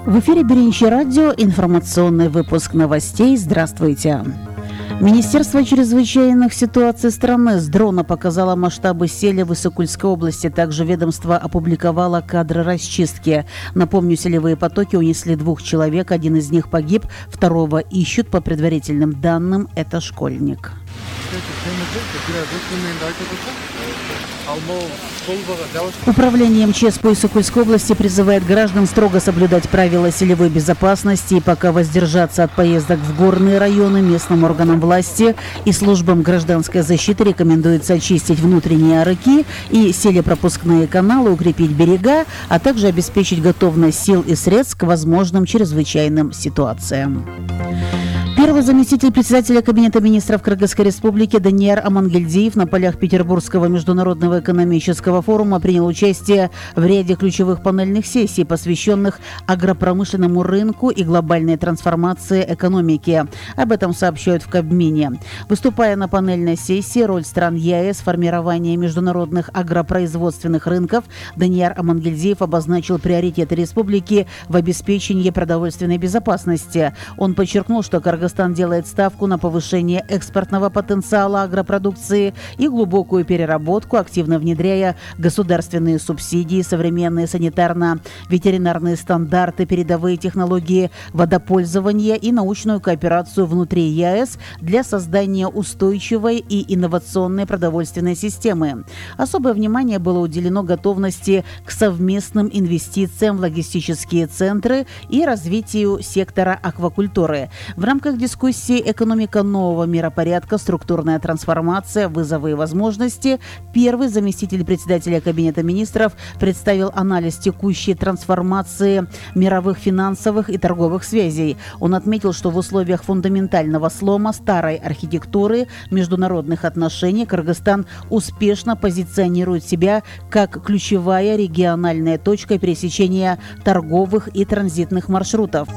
В эфире Биринчи радио, информационный выпуск новостей. Здравствуйте. Министерство чрезвычайных ситуаций страны с дрона показало масштабы селя в Иссык-Кульской области. Также ведомство опубликовало кадры расчистки. Напомню, селевые потоки унесли 2 человек. Один из них погиб, второго ищут. По предварительным данным, это школьник. Управление МЧС по Иссык-Кульской области призывает граждан строго соблюдать правила селевой безопасности и пока воздержаться от поездок в горные районы. Местным органам власти и службам гражданской защиты рекомендуется очистить внутренние арыки и селепропускные каналы, укрепить берега, а также обеспечить готовность сил и средств к возможным чрезвычайным ситуациям. Первый заместитель председателя Кабинета министров Кыргызской республики Данияр Амангельдиев на полях Петербургского международного экономического форума принял участие в ряде ключевых панельных сессий, посвященных агропромышленному рынку и глобальной трансформации экономики. Об этом сообщают в Кабмине. Выступая на панельной сессии «Роль стран ЕАЭС в формировании международных агропроизводственных рынков», Данияр Амангельдиев обозначил приоритеты республики в обеспечении продовольственной безопасности. Он подчеркнул, что Кыргызстан делает ставку на повышение экспортного потенциала агропродукции и глубокую переработку, активно внедряя государственные субсидии, современные санитарно-ветеринарные стандарты, передовые технологии водопользования и научную кооперацию внутри ЕАЭС для создания устойчивой и инновационной продовольственной системы. Особое внимание было уделено готовности к совместным инвестициям в логистические центры и развитию сектора аквакультуры. В рамках дискуссии «Экономика нового миропорядка. Структурная трансформация. Вызовы и возможности» первый заместитель председателя Кабинета министров представил анализ текущей трансформации мировых финансовых и торговых связей. Он отметил, что в условиях фундаментального слома старой архитектуры международных отношений Кыргызстан успешно позиционирует себя как ключевая региональная точка пересечения торговых и транзитных маршрутов.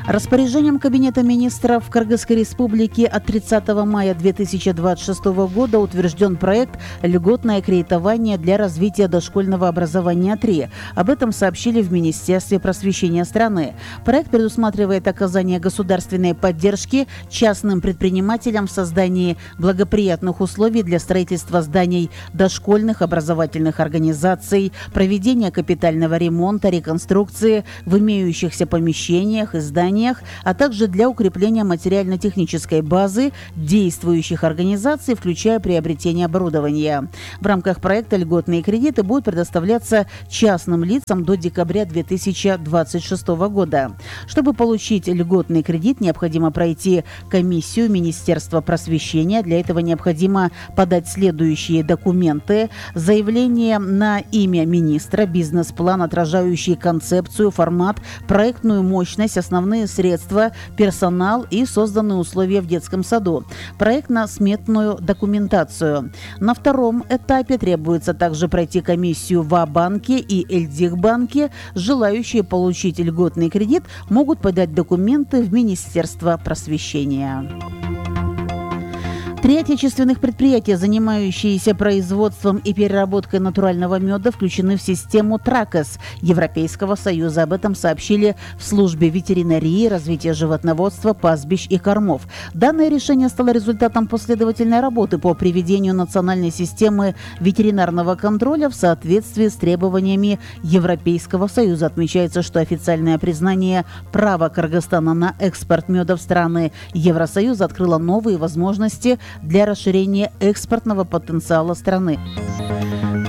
Распоряжением Кабинета министров Кыргызской республики от 30 мая 2026 года утвержден проект «Льготное кредитование для развития дошкольного образования 3». Об этом сообщили в Министерстве просвещения страны. Проект предусматривает оказание государственной поддержки частным предпринимателям в создании благоприятных условий для строительства зданий дошкольных образовательных организаций, проведения капитального ремонта, реконструкции в имеющихся помещениях и зданиях, а также для укрепления материально-технической базы действующих организаций, включая приобретение оборудования. В рамках проекта льготные кредиты будут предоставляться частным лицам до декабря 2026 года. Чтобы получить льготный кредит, необходимо пройти комиссию Министерства просвещения. Для этого необходимо подать следующие документы: заявление на имя министра, бизнес-план, отражающий концепцию, формат, проектную мощность, основные средства, персонал и созданные условия в детском саду, проектно-сметную документацию. На втором этапе требуется также пройти комиссию в А-банке и Эльдих-банке. Желающие получить льготный кредит могут подать документы в Министерство просвещения. 3 отечественных предприятия, занимающиеся производством и переработкой натурального меда, включены в систему ТРАКОС Европейского Союза. Об этом сообщили в службе ветеринарии, развития животноводства, пастбищ и кормов. Данное решение стало результатом последовательной работы по приведению национальной системы ветеринарного контроля в соответствии с требованиями Европейского Союза. Отмечается, что официальное признание права Кыргызстана на экспорт меда в страны Евросоюза открыло новые возможности для расширения экспортного потенциала страны.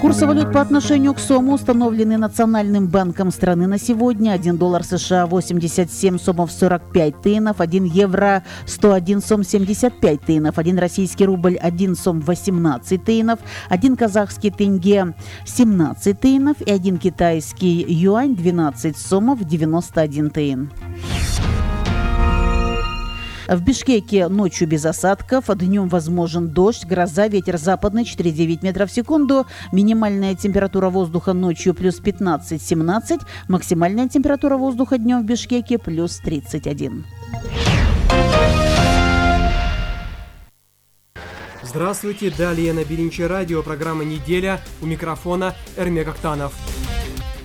Курсы валют по отношению к сому установлены Национальным банком страны на сегодня. 1 доллар США 87 сомов 45 тыйнов, 1 евро 101 сом 75 тыйнов, 1 российский рубль 1 сом 18 тыйнов, 1 казахский тенге 17 тыйнов и 1 китайский юань 12 сомов 91 тыйн. В Бишкеке ночью без осадков, днем возможен дождь, гроза, ветер западный 4,9 метров в секунду. Минимальная температура воздуха ночью плюс 15-17, максимальная температура воздуха днем в Бишкеке плюс 31. Здравствуйте, далее на Биринчи радио, программа «Неделя», у микрофона Эрмек Актанов.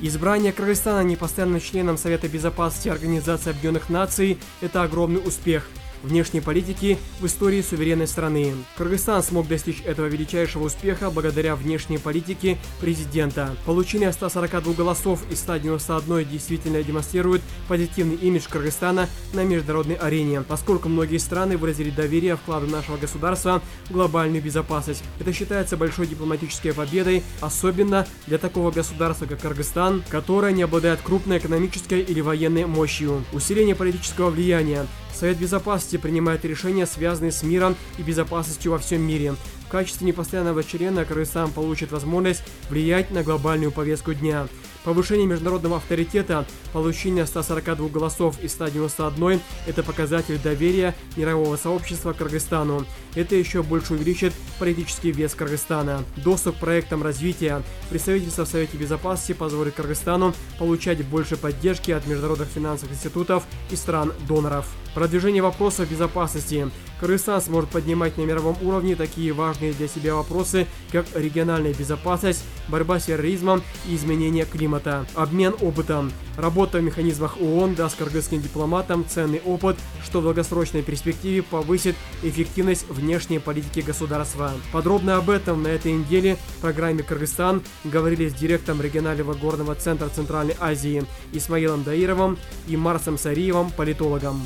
Избрание Кыргызстана непостоянным членом Совета Безопасности Организации Объединенных Наций – это огромный успех внешней политики в истории суверенной страны. Кыргызстан смог достичь этого величайшего успеха благодаря внешней политике президента. Получение 142 голосов из 191 действительно демонстрирует позитивный имидж Кыргызстана на международной арене, поскольку многие страны выразили доверие вкладу нашего государства в глобальную безопасность. Это считается большой дипломатической победой, особенно для такого государства, как Кыргызстан, которое не обладает крупной экономической или военной мощью. Усиление политического влияния. Совет Безопасности принимает решения, связанные с миром и безопасностью во всем мире. В качестве непостоянного члена Кыргызстан получит возможность влиять на глобальную повестку дня. Повышение международного авторитета, получение 142 голосов из 191 – это показатель доверия мирового сообщества к Кыргызстану. Это еще больше увеличит политический вес Кыргызстана. Доступ к проектам развития. Представительство в Совете Безопасности позволит Кыргызстану получать больше поддержки от международных финансовых институтов и стран-доноров. Продвижение вопросов безопасности. Кыргызстан сможет поднимать на мировом уровне такие важные для себя вопросы, как региональная безопасность, борьба с терроризмом и изменение климата. Обмен опытом. Работа в механизмах ООН даст кыргызским дипломатам ценный опыт, что в долгосрочной перспективе повысит эффективность внешней политики государства. Подробно об этом на этой неделе в программе «Кыргызстан» говорили с директором регионального горного центра Центральной Азии Исмаилом Даировым и Марсом Сариевым, политологом.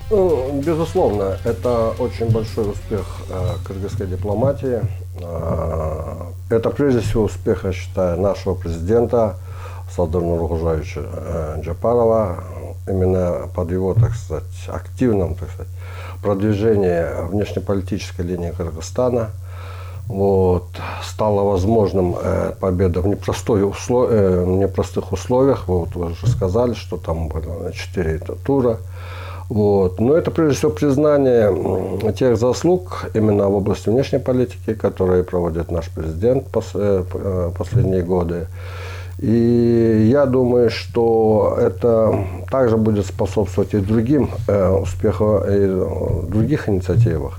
Безусловно, это очень большой успех кыргызской дипломатии. Это прежде всего успех, я считаю, нашего президента Садыра Нуркулжаевича Джапарова. Именно под его, так сказать, активном, так сказать, продвижении внешнеполитической линии Кыргызстана стало возможным победа в непростых условиях. Вы уже сказали, что там было 4 тура. Но это прежде всего признание тех заслуг именно в области внешней политики, которые проводит наш президент последние годы. И я думаю, что это также будет способствовать и другим успехам, и в других инициативах.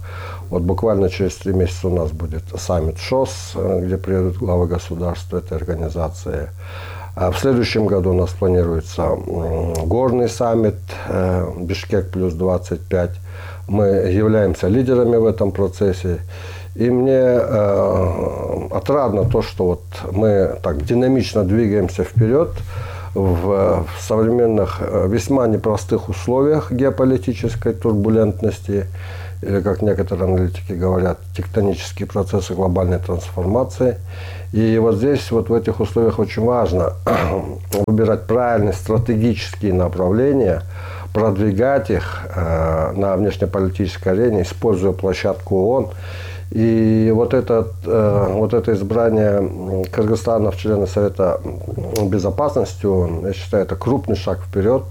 Буквально через 3 месяца у нас будет саммит ШОС, где приедут главы государств этой организации. В следующем году у нас планируется горный саммит Бишкек плюс 25. Мы являемся лидерами в этом процессе. И мне отрадно то, что мы так динамично двигаемся вперед в современных весьма непростых условиях геополитической турбулентности, или, как некоторые аналитики говорят, тектонические процессы глобальной трансформации. И здесь, в этих условиях очень важно выбирать правильные стратегические направления, продвигать их на внешнеполитической арене, используя площадку ООН. И это избрание Кыргызстана в члены Совета Безопасности ООН, я считаю, это крупный шаг вперед,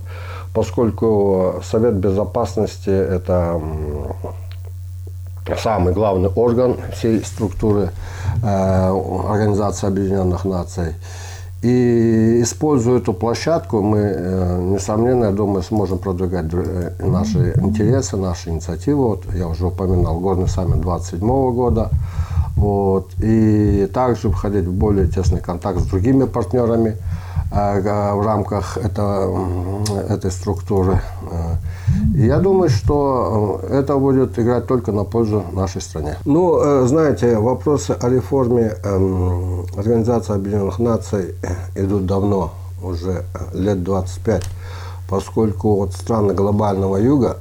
поскольку Совет Безопасности – это самый главный орган всей структуры Организации Объединенных Наций. И используя эту площадку, мы, несомненно, я думаю, сможем продвигать наши интересы, наши инициативы. Я уже упоминал горный саммит 2027 года. И также входить в более тесный контакт с другими партнерами в рамках этой структуры. И я думаю, что это будет играть только на пользу нашей стране. Знаете, вопросы о реформе Организации Объединенных Наций идут давно, уже лет 25, поскольку страны глобального юга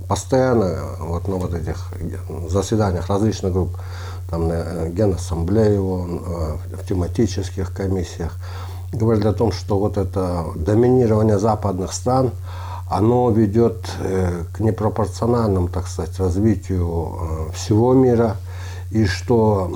постоянно на этих заседаниях различных групп, там на Генассамблее ООН, в тематических комиссиях, говорили о том, что это доминирование западных стран, оно ведет к непропорциональному, так сказать, развитию всего мира, и что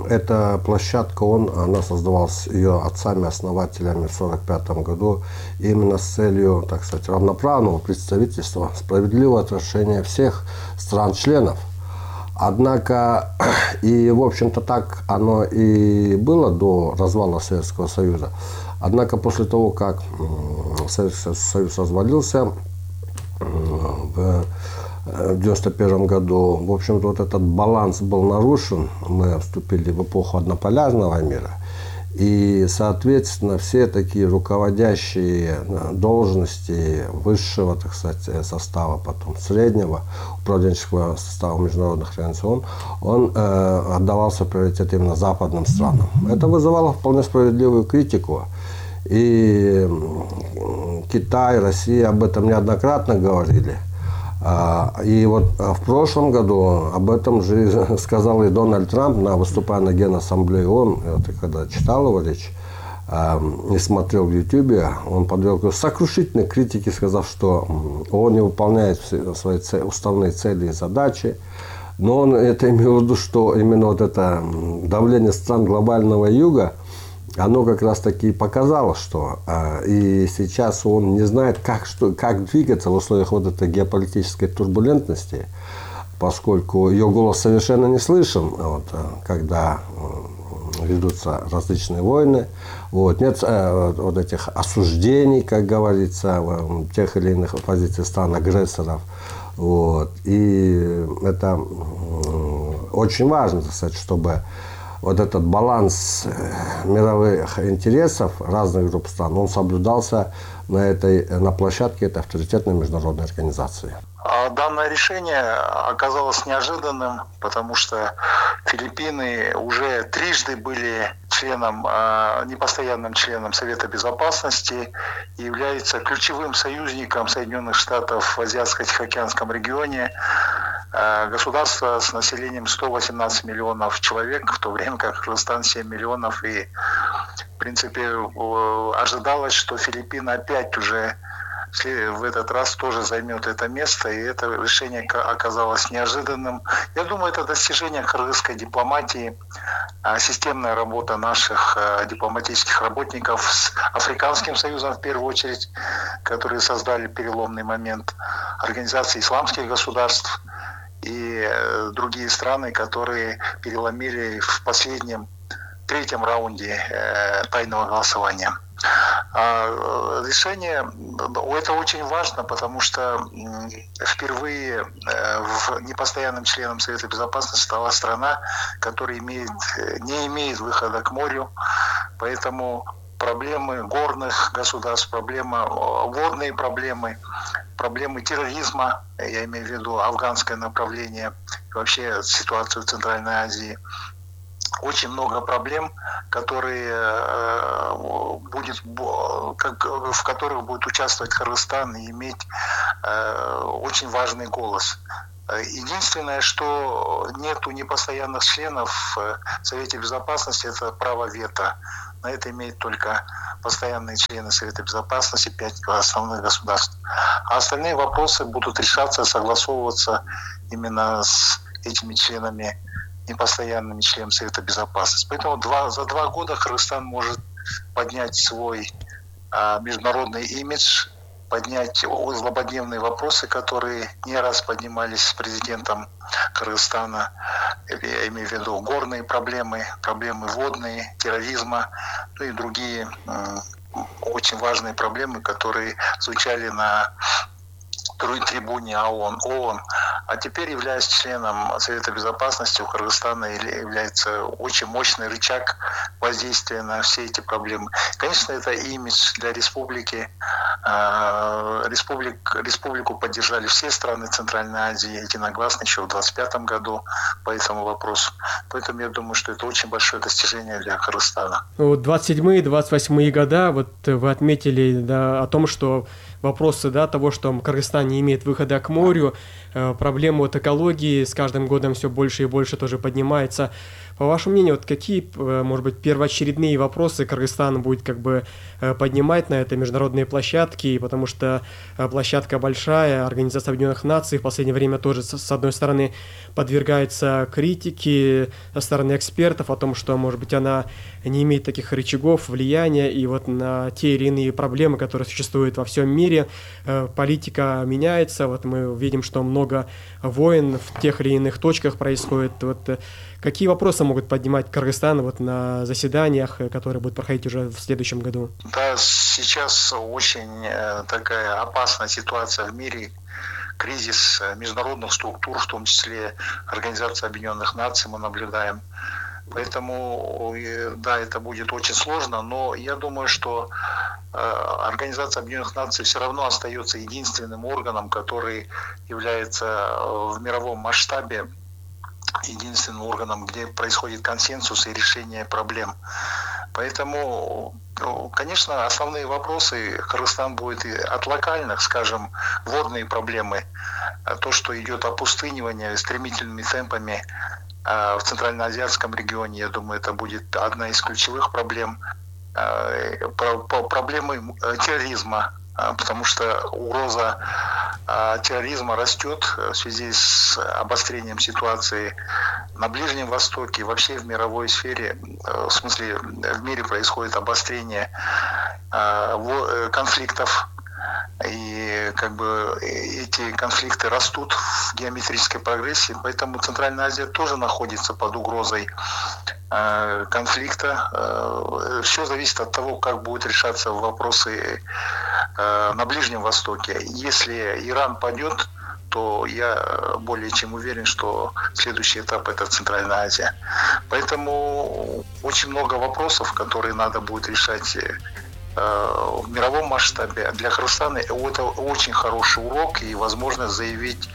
эта площадка она создавалась ее отцами-основателями в 1945 году именно с целью, так сказать, равноправного представительства, справедливого отношения всех стран-членов. Однако, и в общем-то так оно и было до развала Советского Союза. Однако после того, как Советский Союз развалился в 1991 году, в общем-то этот баланс был нарушен. Мы вступили в эпоху однополярного мира. И, соответственно, все такие руководящие должности высшего, так сказать, состава, потом среднего управленческого состава международных организаций, он отдавался приоритет именно западным странам. Это вызывало вполне справедливую критику. И Китай, Россия об этом неоднократно говорили. И вот в прошлом году об этом же сказал и Дональд Трамп, выступая на Генассамблее ООН, когда читал его речь и смотрел в Ютубе, он подвел сокрушительной критике, сказав, что ООН не выполняет свои уставные цели и задачи. Но он это имел в виду, что именно вот это давление стран глобального юга, оно как раз таки показало, что и сейчас он не знает, как двигаться в условиях вот этой геополитической турбулентности, поскольку ее голос совершенно не слышен, вот, когда ведутся различные войны, вот, нет вот этих осуждений, как говорится, тех или иных позиций стран-агрессоров. Вот, и это очень важно, так сказать, чтобы вот этот баланс мировых интересов разных групп стран, он соблюдался на площадке этой авторитетной международной организации. Данное решение оказалось неожиданным, потому что Филиппины уже трижды были непостоянным членом Совета Безопасности и является ключевым союзником Соединенных Штатов в Азиатско-Тихоокеанском регионе. Государство с населением 118 миллионов человек, в то время как Кыргызстан 7 миллионов. И, в принципе, ожидалось, что Филиппины опять уже в этот раз тоже займет это место, и это решение оказалось неожиданным. Я думаю, это достижение кыргызской дипломатии, системная работа наших дипломатических работников с Африканским союзом, в первую очередь, которые создали переломный момент, Организации исламских государств и другие страны, которые переломили в последнем, третьем раунде тайного голосования. Решение, это очень важно, потому что впервые непостоянным членом Совета Безопасности стала страна, которая не имеет выхода к морю, поэтому проблемы горных государств, водные проблемы терроризма, я имею в виду афганское направление, вообще ситуацию в Центральной Азии. Очень много проблем, в которых будет участвовать Кыргызстан и иметь очень важный голос. Единственное, что нету непостоянных членов в Совете Безопасности, это право вето. На это имеют только постоянные члены Совета Безопасности, 5 основных государств. А остальные вопросы будут решаться, согласовываться именно с этими членами, непостоянными членами Совета Безопасности. Поэтому за 2 года Кыргызстан может поднять свой международный имидж, поднять злободневные вопросы, которые не раз поднимались с президентом Кыргызстана, я имею в виду горные проблемы водные, терроризма, ну и другие очень важные проблемы, которые звучали на трибуне ООН. А теперь, являясь членом Совета Безопасности, у Кыргызстана является очень мощный рычаг воздействия на все эти проблемы. Конечно, это имидж для республики. Республику поддержали все страны Центральной Азии единогласно еще в 2025 году по этому вопросу. Поэтому я думаю, что это очень большое достижение для Кыргызстана. 27-28 года, вот вы отметили, да, о том, что вопросы, да, того, что Кыргызстан не имеет выхода к морю, проблема от экологии с каждым годом все больше и больше тоже поднимается. По вашему мнению, вот какие, может быть, первоочередные вопросы Кыргызстан будет как бы поднимать на этой международной площадке, потому что площадка большая, Организация Объединенных Наций в последнее время тоже, с одной стороны, подвергается критике со стороны экспертов о том, что, может быть, она не имеет таких рычагов влияния и вот на те или иные проблемы, которые существуют во всем мире. Политика меняется, вот мы видим, что много войн в тех или иных точках происходит. Вот какие вопросы могут поднимать Кыргызстан вот на заседаниях, которые будут проходить уже в следующем году? Да, сейчас очень такая опасная ситуация в мире, кризис международных структур, в том числе Организация Объединенных Наций мы наблюдаем. Поэтому, да, это будет очень сложно, но я думаю, что Организация Объединенных Наций все равно остается единственным органом, который является в мировом масштабе единственным органом, где происходит консенсус и решение проблем. Поэтому, конечно, основные вопросы Кыргызстан будет и от локальных, скажем, водные проблемы, то, что идет опустынивание стремительными темпами в Центральноазиатском регионе, я думаю, это будет одна из ключевых проблем. Проблемы терроризма, потому что угроза терроризма растет в связи с обострением ситуации на Ближнем Востоке, вообще в мировой сфере, в смысле в мире происходит обострение конфликтов, и как бы эти конфликты растут в геометрической прогрессии, поэтому Центральная Азия тоже находится под угрозой конфликта. Все зависит от того, как будут решаться вопросы на Ближнем Востоке. Если Иран падет, то я более чем уверен, что следующий этап – это Центральная Азия. Поэтому очень много вопросов, которые надо будет решать в мировом масштабе. Для Кыргызстана это очень хороший урок и возможность заявить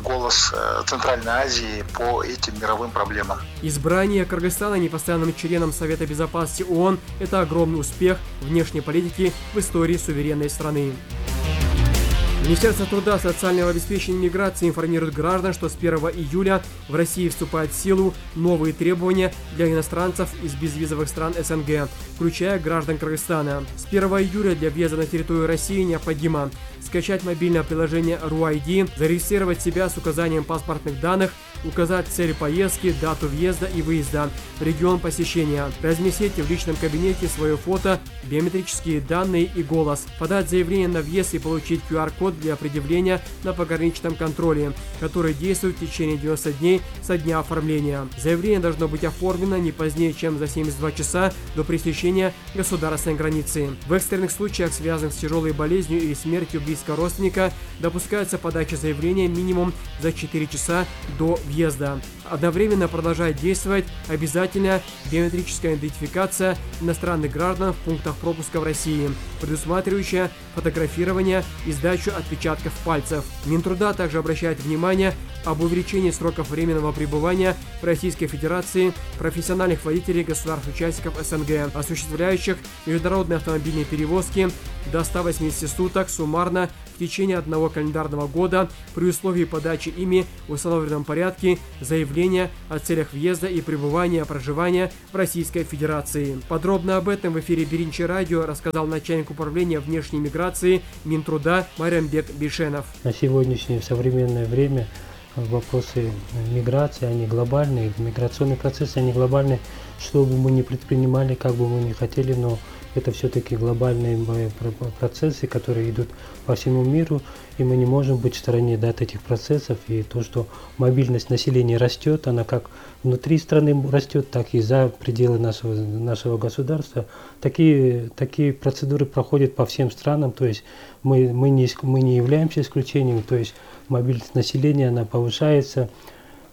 голос Центральной Азии по этим мировым проблемам. Избрание Кыргызстана непостоянным членом Совета Безопасности ООН – это огромный успех внешней политики в истории суверенной страны. Министерство труда, социального обеспечения и миграции информирует граждан, что с 1 июля в России вступают в силу новые требования для иностранцев из безвизовых стран СНГ, включая граждан Кыргызстана. С 1 июля для въезда на территорию России необходимо скачать мобильное приложение RUID, зарегистрировать себя с указанием паспортных данных, указать цель поездки, дату въезда и выезда, регион посещения, разместить в личном кабинете свое фото, биометрические данные и голос, подать заявление на въезд и получить QR-код для предъявления на пограничном контроле, который действует в течение 90 дней со дня оформления. Заявление должно быть оформлено не позднее, чем за 72 часа до пересечения государственной границы. В экстренных случаях, связанных с тяжелой болезнью или смертью близкого родственника, допускается подача заявления минимум за 4 часа до въезда. Одновременно продолжает действовать обязательная биометрическая идентификация иностранных граждан в пунктах пропуска в России, предусматривающая фотографирование и сдачу отпечатков пальцев. Минтруда также обращает внимание об увеличении сроков временного пребывания в Российской Федерации профессиональных водителей государств-участников СНГ, осуществляющих международные автомобильные перевозки до 180 суток суммарно в течение одного календарного года при условии подачи ими в установленном порядке заявления о целях въезда и пребывания проживания в Российской Федерации. Подробно об этом в эфире Биринчи радио рассказал начальник управления внешней миграции Минтруда Марямбек Бишенов. На сегодняшнее современное время вопросы миграции, они глобальные, миграционные процессы, они глобальные, что бы мы ни предпринимали, как бы мы ни хотели, но это все-таки глобальные процессы, которые идут по всему миру, и мы не можем быть в стороне от этих процессов. И то, что мобильность населения растет, она как внутри страны растет, так и за пределы нашего государства. Такие процедуры проходят по всем странам, то есть мы не являемся исключением, то есть мобильность населения, она повышается,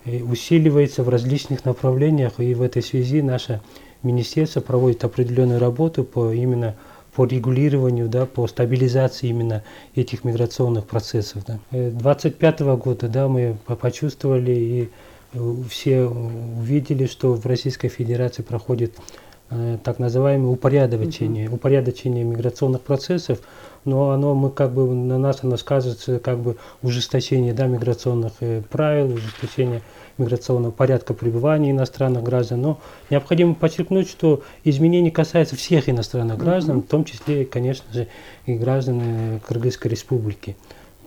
усиливается в различных направлениях, и в этой связи наше министерство проводит определенную работу именно по регулированию, да, по стабилизации именно этих миграционных процессов. 2025 года, да, мы почувствовали и все увидели, что в Российской Федерации проходит так называемое упорядочение миграционных процессов, но на нас оно скажется как бы ужесточение, да, миграционных правил, ужесточение миграционного порядка пребывания иностранных граждан. Но необходимо подчеркнуть, что изменения касаются всех иностранных граждан, в том числе, конечно же, и граждан Кыргызской Республики.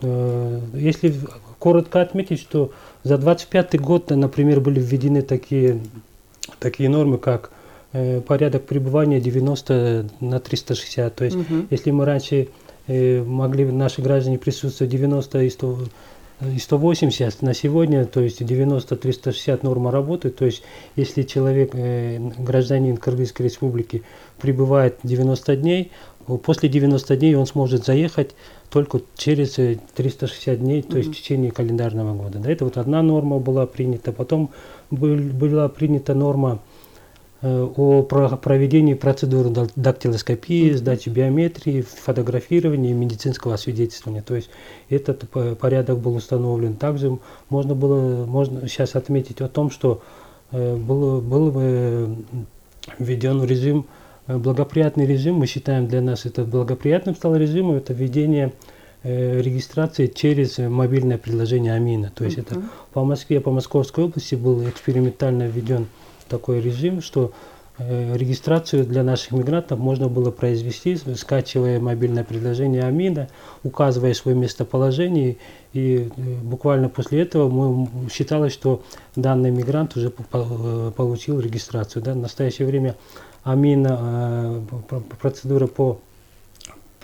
Если коротко отметить, что за 2025 год, например, были введены такие нормы, как порядок пребывания 90/360. То есть, если мы раньше могли наши граждане присутствовать 90 и 180, на сегодня, то есть 90/360 норма работы. То есть, если человек, гражданин Кыргызской Республики, пребывает 90 дней, после 90 дней он сможет заехать только через 360 дней, то есть в течение календарного года. Да, это вот одна норма была принята. Потом была принята норма о проведении процедуры дактилоскопии, сдачи биометрии, фотографирования и медицинского освидетельствования. То есть этот порядок был установлен. Также можно сейчас отметить о том, что был введен режим, благоприятный режим. Мы считаем, для нас это благоприятным стал режимом, это введение регистрации через мобильное приложение Амина. То есть это по Москве, по Московской области был экспериментально введен такой режим, что регистрацию для наших мигрантов можно было произвести, скачивая мобильное приложение Амина, указывая свое местоположение, и буквально после этого считалось, что данный мигрант уже получил регистрацию. Да? В настоящее время Амина, процедура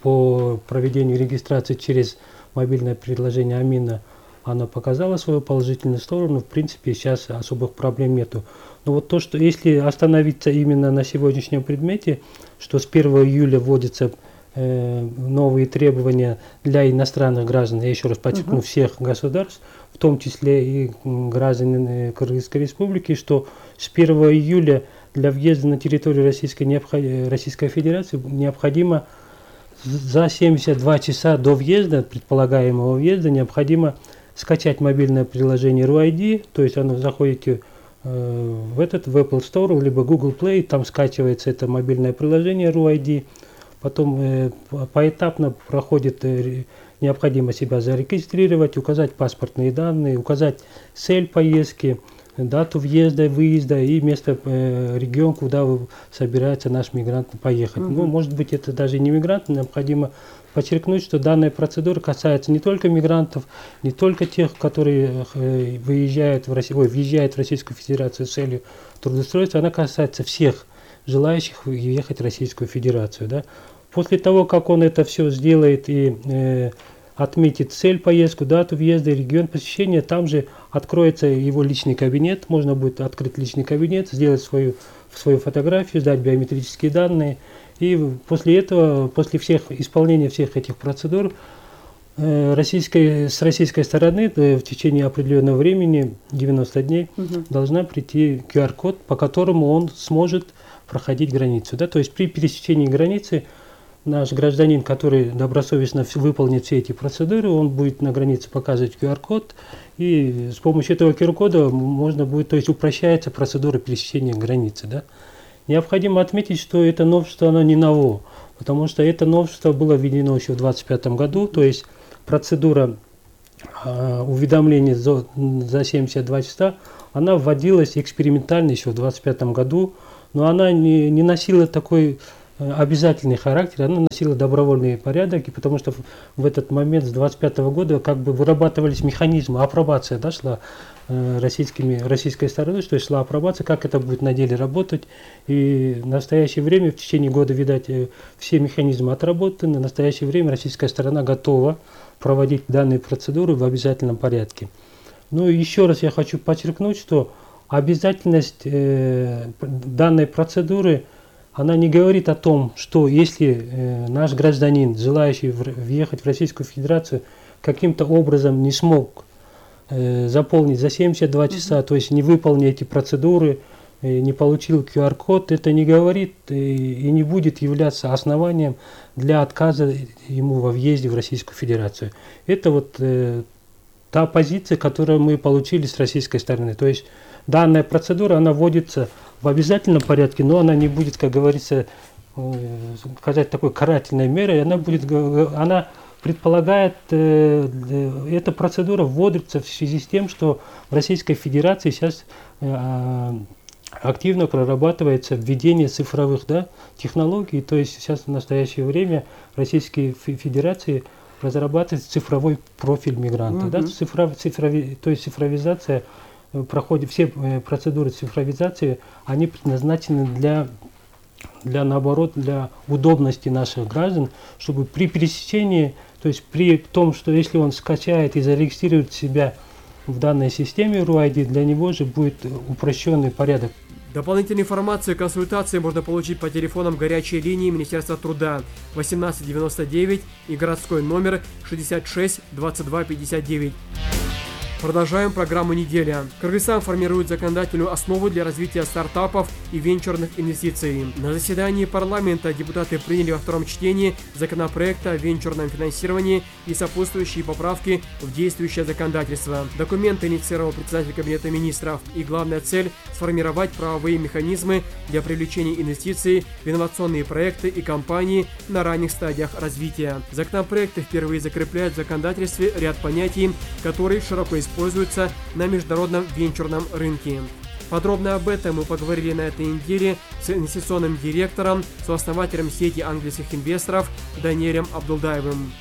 по проведению регистрации через мобильное приложение Амина, она показала свою положительную сторону. В принципе, сейчас особых проблем нету. Но вот то, что если остановиться именно на сегодняшнем предмете, что с 1 июля вводятся новые требования для иностранных граждан, я еще раз подчеркну, всех государств, в том числе и граждан Кыргызской Республики, что с 1 июля для въезда на территорию Российской Федерации необходимо за 72 часа до въезда, предполагаемого въезда, необходимо скачать мобильное приложение RUID, то есть оно заходите в Apple Store, либо Google Play, там скачивается это мобильное приложение RUID, потом поэтапно проходит, необходимо себя зарегистрировать, указать паспортные данные, указать цель поездки, дату въезда, выезда и место, регион, куда собирается наш мигрант поехать. Ну, может быть, это даже не мигрант, необходимо подчеркнуть, что данная процедура касается не только мигрантов, не только тех, которые въезжают в Российскую Федерацию с целью трудоустройства, она касается всех желающих въехать в Российскую Федерацию. Да? После того, как он это все сделает и отметит цель поездку, дату въезда, регион посещения, там же откроется его личный кабинет, можно будет открыть личный кабинет, сделать свою фотографию, сдать биометрические данные, и после этого, после исполнения всех этих процедур, с российской стороны в течение определенного времени, 90 дней, должна прийти QR-код, по которому он сможет проходить границу. Да? То есть при пересечении границы наш гражданин, который добросовестно выполнит все эти процедуры, он будет на границе показывать QR-код, и с помощью этого QR-кода можно будет, то есть упрощается процедура пересечения границы. Да? Необходимо отметить, что это новшество, оно не ново, потому что это новшество было введено еще в 2025 году, то есть процедура уведомления за 72 часа, она вводилась экспериментально еще в 2025 году, но она не носила такой обязательный характер, она носила добровольный порядок, и потому что в этот момент с 2025 года как бы вырабатывались механизмы, апробация, да, шла российской стороной, что шла апробация, как это будет на деле работать, и в настоящее время, в течение года, видать, все механизмы отработаны, в настоящее время российская сторона готова проводить данные процедуры в обязательном порядке. Ну и еще раз я хочу подчеркнуть, что обязательность данной процедуры, она не говорит о том, что если наш гражданин, желающий въехать в Российскую Федерацию, каким-то образом не смог заполнить за 72 часа, то есть не выполнил эти процедуры, не получил QR-код, это не говорит и не будет являться основанием для отказа ему во въезде в Российскую Федерацию. Это вот та позиция, которую мы получили с российской стороны. То есть данная процедура, она вводится в обязательном порядке, но она не будет, как говорится, сказать такой карательной мерой, она предполагает, эта процедура вводится в связи с тем, что в Российской Федерации сейчас активно прорабатывается введение цифровых, да, технологий, то есть сейчас в настоящее время в Российской Федерации разрабатывается цифровой профиль мигранта, да, то есть цифровизация проходит, все процедуры цифровизации, они предназначены наоборот, для удобности наших граждан, чтобы при пересечении, то есть при том, что если он скачает и зарегистрирует себя в данной системе RUID, для него же будет упрощенный порядок Дополнительную информацию и консультации можно получить по телефонам горячей линии Министерства труда 1899 и городской номер 66 22 59. Продолжаем программу «Неделя». Кыргызстан формирует законодательную основу для развития стартапов и венчурных инвестиций. На заседании парламента депутаты приняли во втором чтении законопроекта о венчурном финансировании и сопутствующие поправки в действующее законодательство. Документ инициировал председатель Кабинета министров, и главная цель – сформировать правовые механизмы для привлечения инвестиций в инновационные проекты и компании на ранних стадиях развития. Законопроект впервые закрепляет в законодательстве ряд понятий, которые широко используются на международном венчурном рынке. Подробно об этом мы поговорили на этой неделе с инвестиционным директором, сооснователем сети английских инвесторов Даниэлем Абдулдаевым.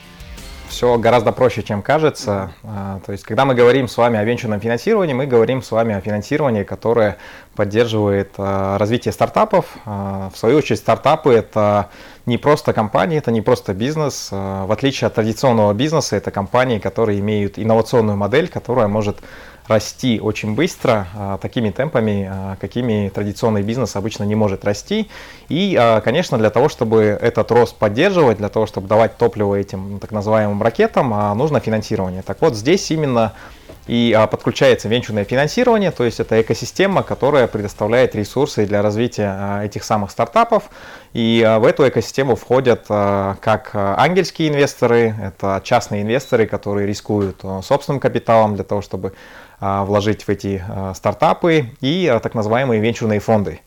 Все гораздо проще, чем кажется. То есть, когда мы говорим с вами о венчурном финансировании, мы говорим с вами о финансировании, которое поддерживает развитие стартапов. В свою очередь, стартапы – это не просто компании, это не просто бизнес. В отличие от традиционного бизнеса, это компании, которые имеют инновационную модель, которая может расти очень быстро, такими темпами, какими традиционный бизнес обычно не может расти. И, конечно, для того, чтобы этот рост поддерживать, для того, чтобы давать топливо этим так называемым ракетам, нужно финансирование. Так вот, здесь именно и подключается венчурное финансирование, то есть это экосистема, которая предоставляет ресурсы для развития этих самых стартапов. И в эту экосистему входят как ангельские инвесторы, это частные инвесторы, которые рискуют собственным капиталом для того, чтобы вложить в эти стартапы, и так называемые венчурные фонды.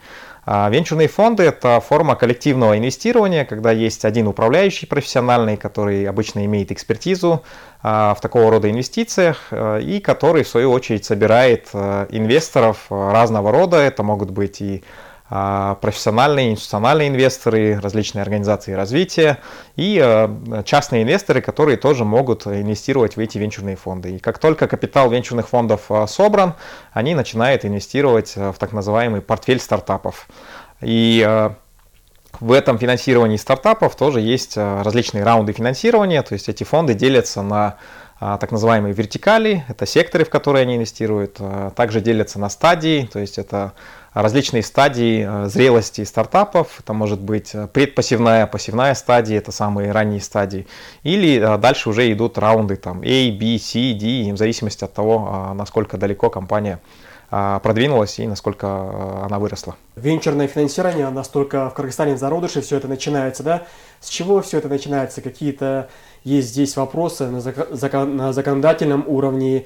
Венчурные фонды – это форма коллективного инвестирования, когда есть один управляющий профессиональный, который обычно имеет экспертизу в такого рода инвестициях, и который, в свою очередь, собирает инвесторов разного рода. Это могут быть и профессиональные, институциональные инвесторы, различные организации развития и частные инвесторы, которые тоже могут инвестировать в эти венчурные фонды. И как только капитал венчурных фондов собран, они начинают инвестировать в так называемый портфель стартапов. И в этом финансировании стартапов тоже есть различные раунды финансирования, то есть эти фонды делятся на так называемые вертикали, это секторы, в которые они инвестируют, также делятся на стадии, то есть это различные стадии зрелости стартапов, это может быть предпассивная, пассивная стадия, это самые ранние стадии, или дальше уже идут раунды там A, B, C, D, в зависимости от того, насколько далеко компания продвинулась и насколько она выросла. Венчурное финансирование настолько в Кыргызстане в зародыше, все это начинается, да? С чего все это начинается? Какие-то есть здесь вопросы на законодательном уровне,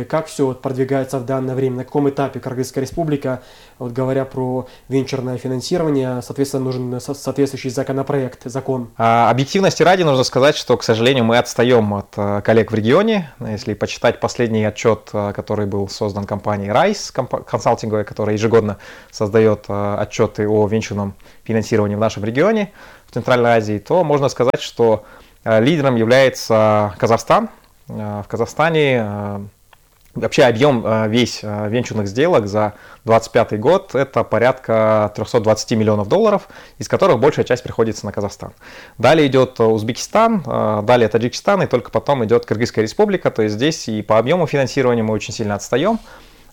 как все продвигается в данное время, на каком этапе Кыргызская республика, вот говоря про венчурное финансирование, соответственно, нужен соответствующий законопроект, закон. Объективности ради нужно сказать, что, к сожалению, мы отстаем от коллег в регионе. Если почитать последний отчет, который был создан компанией RISE, консалтинговой, которая ежегодно создает отчеты о венчурном финансировании в нашем регионе, в Центральной Азии, то можно сказать, что лидером является Казахстан. В Казахстане вообще объем весь венчурных сделок за 2025 год это порядка 320 миллионов долларов, из которых большая часть приходится на Казахстан. Далее идет Узбекистан, далее Таджикистан, и только потом идет Кыргызская республика. То есть здесь и по объему финансирования мы очень сильно отстаем.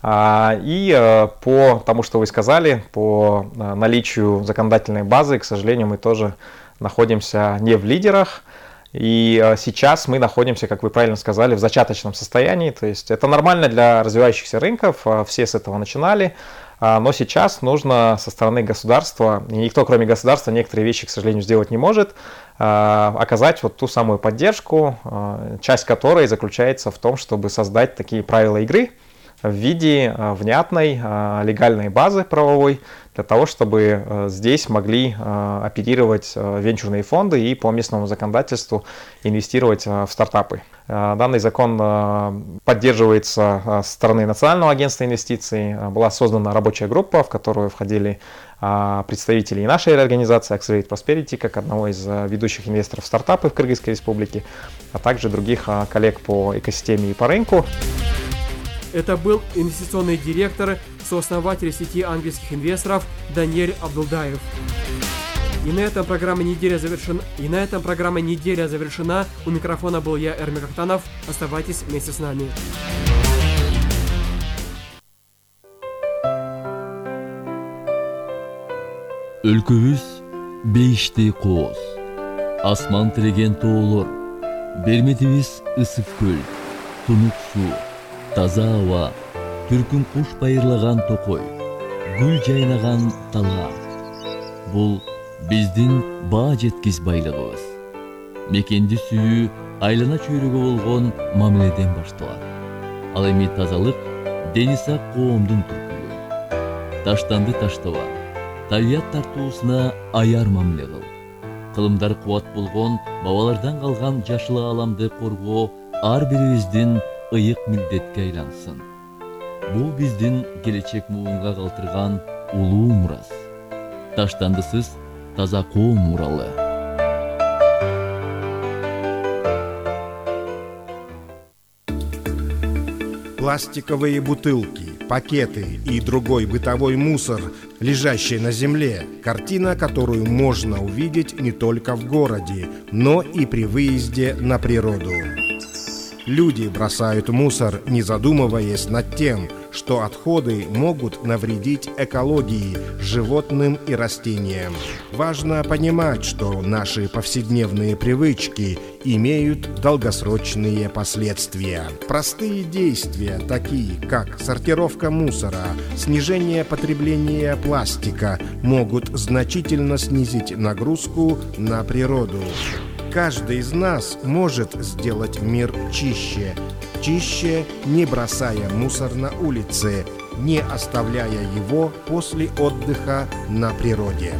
И по тому, что вы сказали, по наличию законодательной базы, к сожалению, мы тоже находимся не в лидерах. И сейчас мы находимся, как вы правильно сказали, в зачаточном состоянии. То есть это нормально для развивающихся рынков, все с этого начинали. Но сейчас нужно со стороны государства, и никто кроме государства некоторые вещи, к сожалению, сделать не может, оказать вот ту самую поддержку, часть которой заключается в том, чтобы создать такие правила игры в виде внятной легальной базы правовой, для того, чтобы здесь могли оперировать венчурные фонды и по местному законодательству инвестировать в стартапы. Данный закон поддерживается со стороны Национального агентства инвестиций. Была создана рабочая группа, в которую входили представители и нашей организации Accelerate Prosperity, как одного из ведущих инвесторов в стартапы в Кыргызской республике, а также других коллег по экосистеме и по рынку. Это был инвестиционный директор, сооснователь сети английских инвесторов Даниэль Абдулдаев. И на этом программа «Неделя» завершена. У микрофона был я, Эрмик Ахтанов. Оставайтесь вместе с нами. Өлкөбүз бейиштей кооз, асман тиреген тоолор, берметибиз ысык көл, тунук суу, таза аба, түркүн куш байырлаган токой, гүл жайнаган талаа. Бул биздин баа жеткис байлыгыбыз. Мекенди сүйүү айлана чөйрөгө болгон мамиледен башталат. Ал эми тазалык дени сак коомдун түркүлүгү. Таштанды таштаба, табият тартуусуна аяр мамиле кыл. Кылымдар кубат болгон бабалардан калган жашыл ааламды коргоо ар бирибиздин ыйык милдетке айлансын. Бул биздин келечек муунга калтырган улуу мурас. Таштандысыз таза коом муралы. Пластиковые бутылки, пакеты и другой бытовой мусор, лежащий на земле, картина, которую можно увидеть не только в городе, но и при выезде на природу. Люди бросают мусор, не задумываясь над тем, что отходы могут навредить экологии, животным и растениям. Важно понимать, что наши повседневные привычки имеют долгосрочные последствия. Простые действия, такие как сортировка мусора, снижение потребления пластика, могут значительно снизить нагрузку на природу. Каждый из нас может сделать мир чище. Чище, не бросая мусор на улице, не оставляя его после отдыха на природе.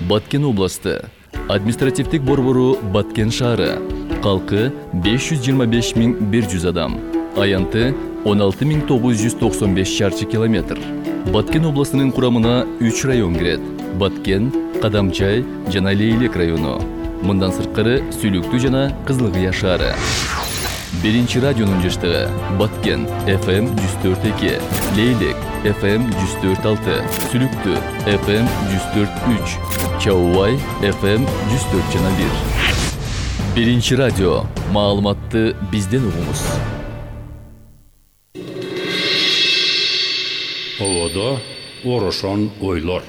Баткен областы. Административдик борбору Баткен шаары. Калкы 525.100 адам. Аянты 16.995 шарчы километр. Баткен областынын курамына 3 район кирет. Баткен, Кадамчай жана Лейлек району. Мындан сырткары Сүлүктүү жана Кызылкыя шаары. Биринчи радионун жаштыгы Баткен FM 104.2, Лейлек FM 104.6, Сүлүктүү FM 104.3, Чаубай FM 104.1. Биринчи радио. Маалыматты бизден угуңуз. Оводо орошон ойлор.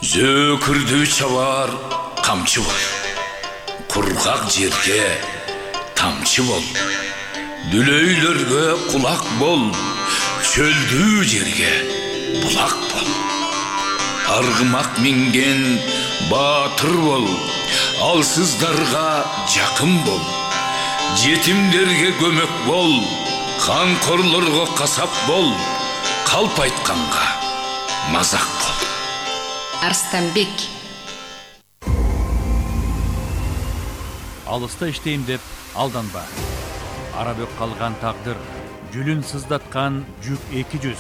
Зөкүрдү чабар камчы бол. Кургак жерге тамчы бол. Дүлөйлөргө кулак бол. Чөлдүү жерге булак бол. Аргымак минген баатыр бол. Алсыздарга жакын бол. Жетимдерге көмөк бол. Канкорлорго касап бол. Калп айтканга мазак бол. Арстанбек. Алыста иштейм деп алданба. Арабөк калган тагдыр, жүлүн сыздаткан жүк 200,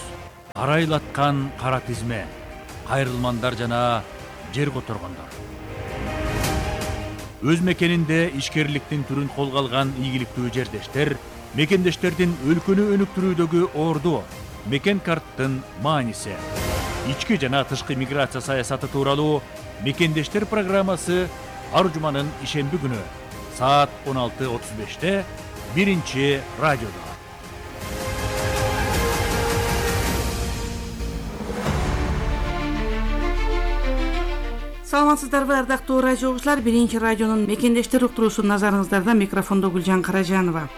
карайлаткан кара тизме, кайрылмандар жана жер которгондор. Өз мекенинде ишкерликтин түрүн колго алган ийгиликтүү жердештер, мекендештердин өлкөнү өнүктүрүүдөгү орду, мекен карттын мааниси. Ички жана тышкы миграция саясаты тууралуу мекендештер программасы ар жуманын ишемби күнү саат 16:35 биринчи радиодо. Саламатсыздарбы, ардактуу радио угуучулар, биринчи радионун мекендештер уктуруусу назарыңыздарда. Микрофондо Гүлжан Каражанова.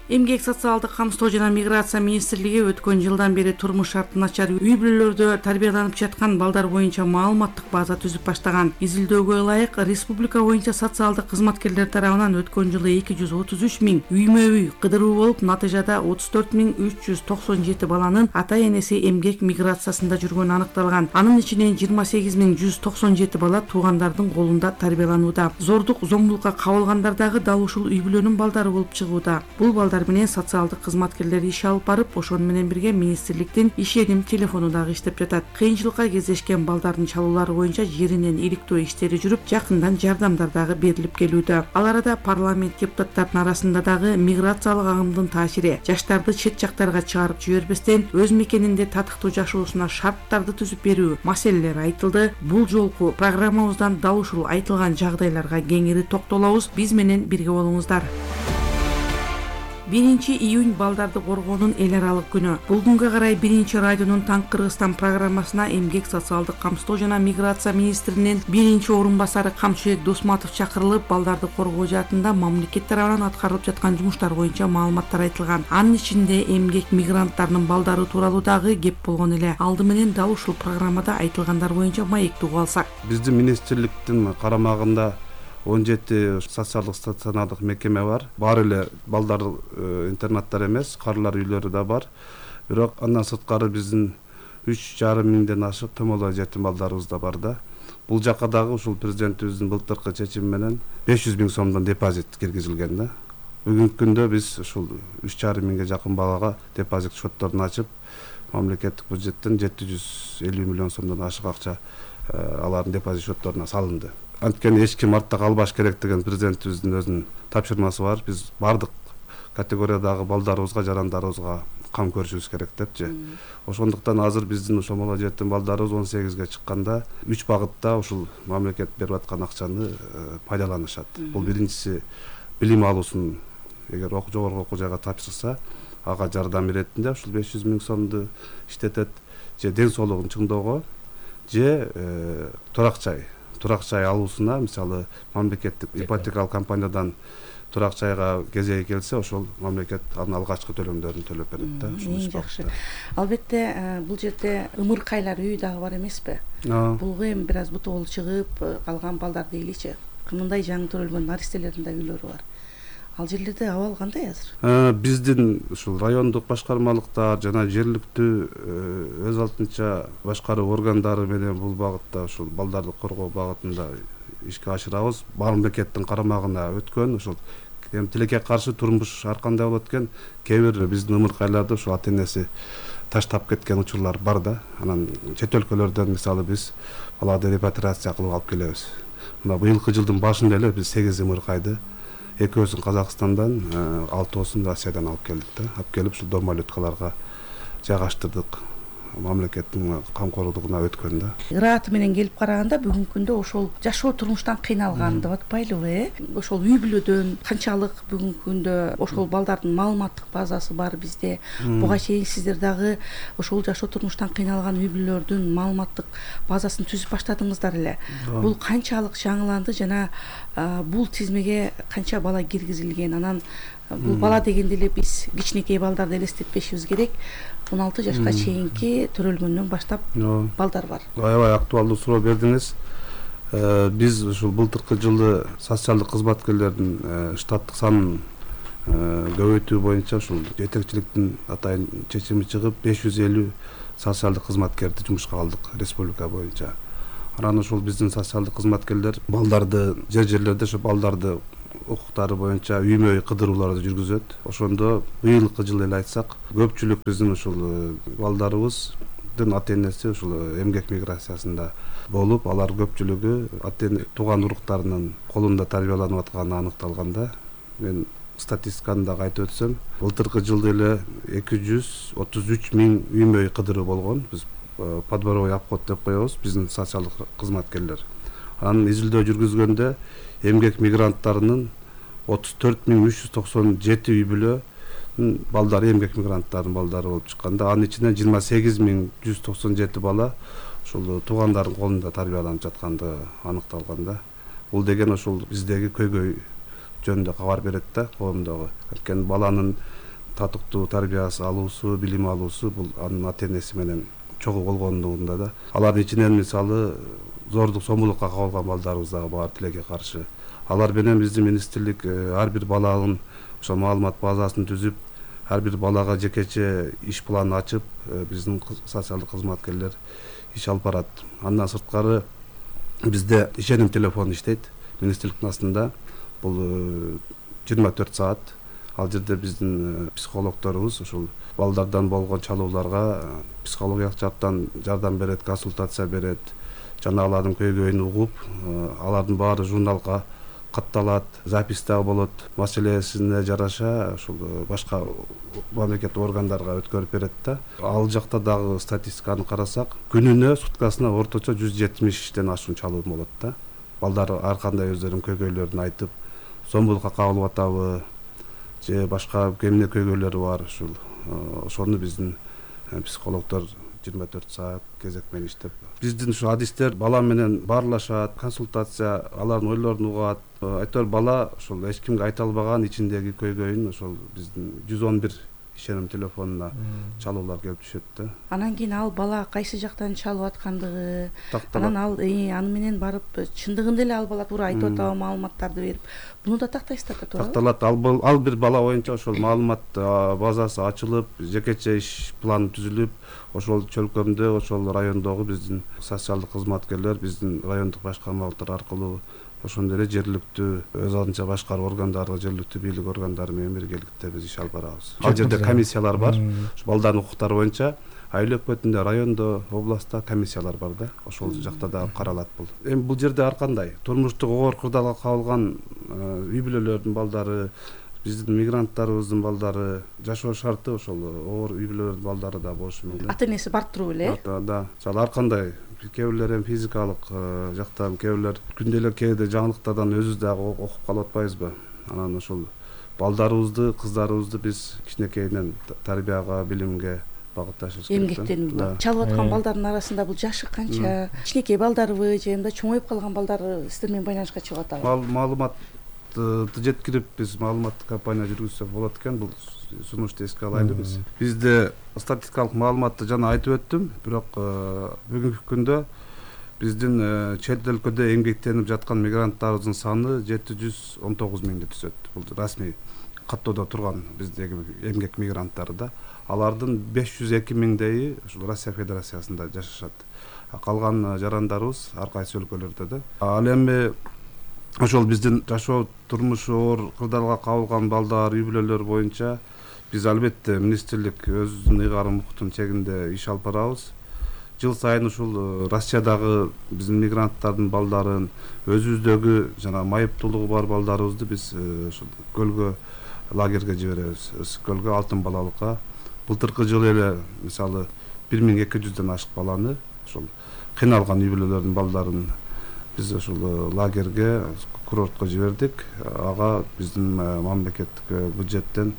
Эмгек социалдык камсыздоо жана миграция министрлиги өткөн жылдан бери турмуш шарты начар үй бүлөлөрдө тарбияланып жаткан балдар боюнча маалыматтык база түзүп баштаган. Изилдөөгө ылайык республика боюнча социалдык кызматкерлер тарабынан өткөн жылы 233.000 үймө-үй кыдыруу болуп, натыйжада 34.397 баланын ата-энеси эмгек миграциясында жүргөнү аныкталган. Анын ичинен 28.197 бала туугандардын колунда тарбияланууда. Зордук, зомбулукка кабылгандардагы дал ушул үй бүлөнүн балдары болуп чыгууда. Бул балдар балдар менен социалдык кызматкерлер иш алып барып, ошону менен бирге министрликтин ишеним телефону дагы иштеп жатат. Кыйынчылыкка кездешкен балдардын чалуулары боюнча жеринен иликтөө иштери жүрүп, жакындан жардамдар дагы берилип келүүдө. Ал арада парламент депутаттарынын арасында дагы миграциялык агымдын таасири, жаштарды чет жактарга чыгарып жибербестен өз мекенинде татыктуу жашоосуна шарттарды түзүп берүү маселелери айтылды. Бул жолку программабыздан дал ушул айтылган жагдайларга кеңири токтолобуз. Биз менен бирге болуңуздар. 1 июнь балдарды коргоонун эл аралык күнү. Бул күнгө карай 1 радионун Таң Кыргызстан программасына эмгек, социалдык камсыздоо жана миграция министринин 1-орун басары Камчыбек Досматов чакырылып, балдарды коргоо жаатында мамлекет тарабынан аткарылып жаткан жумуштар боюнча маалыматтар айтылган. Анын ичинде эмгек мигранттарынын балдары тууралуу дагы кеп болгон эле. Алды менен дал ушул программада айтылгандар боюнча маекти угуп алсак. Биздин министрликтин карамагында 17 социалдык стационардык мекеме бар. Бар эле балдар интернаттар эмес, карылар үйлөрү да бар. Бирок андан сырткары биздин 3,5 миңден ашык томолой жетим балдарыбыз да бар да. Бул жакка дагы ушул президентибиздин былтыркы чечими менен 500 миң сомдон депозит киргизилген да. Бүгүнкү күндө биз ушул 3,5 миңге жакын балага депозит счетторун ачып, мамлекеттик бюджеттен 750 миллион сомдон ашык акча алардын депозит счетторуна салынды. Анткени эч ким артта калбаш керек деген президентибиздин өзүнүн тапшырмасы бар. Биз бардык категориядагы балдарыбызга, жарандарыбызга кам көрүшүбүз керек депчи. Ошондуктан азыр биздин ошомоло жетим балдарыбыз 18ге чыкканда 3 багытта ушул мамлекет берип аткан акчаны пайдаланышат. Бул биринчиси билим алуусун эгер жогорку окуу жайга тапшырса, ага жардам иретинде ушул 500 миң сомду иштетет, же ден соолугун чыңдоого, же турак жай алуусуна, мисалы мамлекеттик ипотекалык компаниядан турак жайга кезеги келсе, ошол мамлекет анын алгачкы төлөмдөрүн төлөп берет да. Эң жакшы. Албетте бул жерде ымыркайлар үй дагы бар эмеспи? Булга эми бир аз бутоол чыгып калган балдар дейличи. Мындай жаңы төрөлгөн наристелердин да үйлөрү бар. Ал жерлерде абал кандай азыр? Биздин ушул райондук башкармалыктар жана жергиликтүү өз алдынча башкаруу органдары менен бул багытта ушул балдарды коргоо багытында ишке ашырабыз. Мамлекеттин карамагына өткөн ушул тилекке каршы турмуш ар кандай болот экен, кээ бир биздин ымыркайларды ушул ата-энеси таштап кеткен учурлар бар да. Анан чет өлкөлөрдөн мисалы биз баларды репатриация кылып алып келебиз. Мына быйылкы жылдын башында эле биз 8 ымыркайды, экөөсүн Казакстандан, 6-оосун Россиядан алып келдик да. Алып келип ушул дом малюткаларга жайгаштырдык. Мамлекеттин камкорлугуна өткөн да. Ырааты менен келип караганда бүгүнкү күндө ошол жашоо турмуштан кыйналган деп атпайлыбы, Ошол үй бүлөдөн канчалык бүгүнкү күндө ошол балдардын маалыматтык базасы бар бизде. Буга чейин сиздер дагы ошол жашоо турмуштан кыйналган үй бүлөлөрдүн маалыматтык базасын түзүп баштадыңыздар эле. Бул канчалык жаңыланды жана бул тизмеге канча бала киргизилген? Анан бул бала дегенде эле биз кичинекей балдарды элестетпешибиз керек. 16 жашка чейинки төрөлгөндөн баштап балдар бар. Аябай актуалдуу суроо бердиңиз. Биз ушул былтыркы жылы социалдык кызматкерлердин штаттык санын көбөйтүү боюнча ушул жетекчиликтин атайын чечими чыгып 550 социалдык кызматкерди жумушка алдык республика боюнча. Анан ушул биздин социалдык кызматкерлер балдарды жерлерде ошо балдарды укуктары боюнча үймө-үй кыдырууларды жүргүзөт. Ошондо быйылкы жылы эле айтсак, көпчүлүк биздин ушул балдарыбыздын ата-энеси ушул эмгек миграциясында болуп, алар көпчүлүгү ата-эне тууган уруктарынын колунда тарбияланып атканы аныкталган да. Мен статистиканы дагы айтып өтсөм, былтыркы жылда эле 233 миң үймө-үй кыдыруу болгон. Биз подборовой обход деп коебуз, биздин социалдык кызматкерлер. Анын изилдөө жүргүзгөндө эмгек мигранттарынын 34.397 үй бүлөнүн балдары эмгек мигранттарынын балдары болуп чыкканда, анын ичинен 28.197 бала ушул туугандардын колунда тарбияланып жаткандыгы аныкталган да. Бул деген ошол биздеги көйгөй жөнүндө кабар берет да, коомдогу. Анткени баланын татыктуу тарбиясы алуусу, билим алуусу бул анын ата-энеси менен чогуу болгондугунда да. Алардын ичинен мисалы зордук сомулукка кабылган балдарыбыз дагы бар тилекке каршы. Алар менен биздин министрлик ар бир баланын ошо маалымат базасын түзүп, ар бир балага жекече иш планын ачып, биздин социалдык кызматкерлер иш алып барат. Андан сырткары бизде ишеним телефону иштейт министрликтин астында. Бул 24 саат Ал жерде биздин психологдорубуз ушул балдардан болгон чалууларга психологиялык жактан жардам берет, консультация берет, жана алардын көйгөйүн угуп, алардын баары журналга катталат, запись дагы болот. Маселесине жараша ушул башка мамлекет органдарга өткөрүп берет да. Ал жакта дагы статистиканы карасак, күнүнө суткасына орточо 170тен ашуун чалуу болот да. Балдар ар кандай өздөрүнүн көйгөйлөрүн айтып, зомбулукка кабылып атабы же башка эмне көйгөйлөрү бар, ошону биздин психологдор 24 саат кезек менен иштеп. Биздин ушу адистер бала менен баарлашат, консультация, алардын ойлорун угат. Айтор бала ошол эч кимге айта албаган ичиндеги көйгөйүн ошол биздин 111 ишеним телефонуна чалуулар келип түшөт да. Анан кийин ал бала кайсы жактан чалып аткандыгы, анан ал аны менен барып чындыгында эле ал бала туура айтып атабы маалыматтарды берип, буну да тактайсыздар да, туура? Такталат. Ал бир бала боюнча ошол маалымат базасы ачылып, жекече иш планы түзүлүп, ошол чөлкөмдө, ошол райондогу биздин социалдык кызматкерлер, биздин райондук башкармалыктар аркылуу ошондой эле жергиликтүү өз алдынча башкаруу органдары, жергиликтүү бийлик органдары менен биргеликте биз иш алып барабыз. Ал жерде комиссиялар бар. Балдардын укуктары боюнча айыл өкмөтүндө, райондо, областта комиссиялар бар да. Ошол жакта да каралат бул. Эми бул жерде ар кандай турмуштук оор кырдаалга кабылган үй бүлөлөрдүн балдары, биздин мигранттарыбыздын балдары, жашоо шарты ошол оор үй бүлөлөрдүн балдары да болушу мүмкүн. Ата-энеси бар туруп эле? Да. Мисалы ар кандай кээ бирлер эми физикалык жактан, кээ бирлер күнделик кээде жаңылыктардан өзүбүз дагы окуп калып атпайбызбы? Анан ошол балдарыбызды, кыздарыбызды биз кичинекейинен тарбияга, билимге багытташыбыз керек. Эмгектенүүгө. Чалып аткан балдардын арасында бул жашы канча? Кичинекей балдарбы же мындай чоңоюп калган балдар сиздер менен байланышка чыгып атабы? Маалыматты жеткирип биз маалыматтык кампания жүргүзсөк болот экен. Бул сунушту эске алайлы биз. Бизде статистикалык маалыматты жана айтып өттүм, бирок бүгүнкү күндө биздин чет өлкөдө эмгектенип жаткан мигранттарыбыздын саны 719 миңди түзөт. Бул расмий каттоодо турган биздеги эмгек мигранттары да. Алардын 502 миңдейи ушул Россия Федерациясында жашашат. Калган жарандарыбыз ар кайсы өлкөлөрдө да. Ал эми ошол биздин жашоо турмушу оор кырдаалга кабылган балдар, үй бүлөлөр боюнча биз албетте министрлик өзүнүн ыйгарым укуктун чегинде иш алып барабыз. Жыл сайын ушул Россиядагы биздин мигранттардын балдарын, өзүбүздөгү жана майыптуулугу бар балдарыбызды биз ушул көлгө, лагерге жиберебиз. Көлгө, Алтын балалыкка. Былтыркы жылы эле мисалы 1200дөн ашык баланы ушул кыйналган үй бүлөлөрдүн балдарын биз ушул лагерге, курортко жибердик. Ага биздин мамлекеттик бюджеттен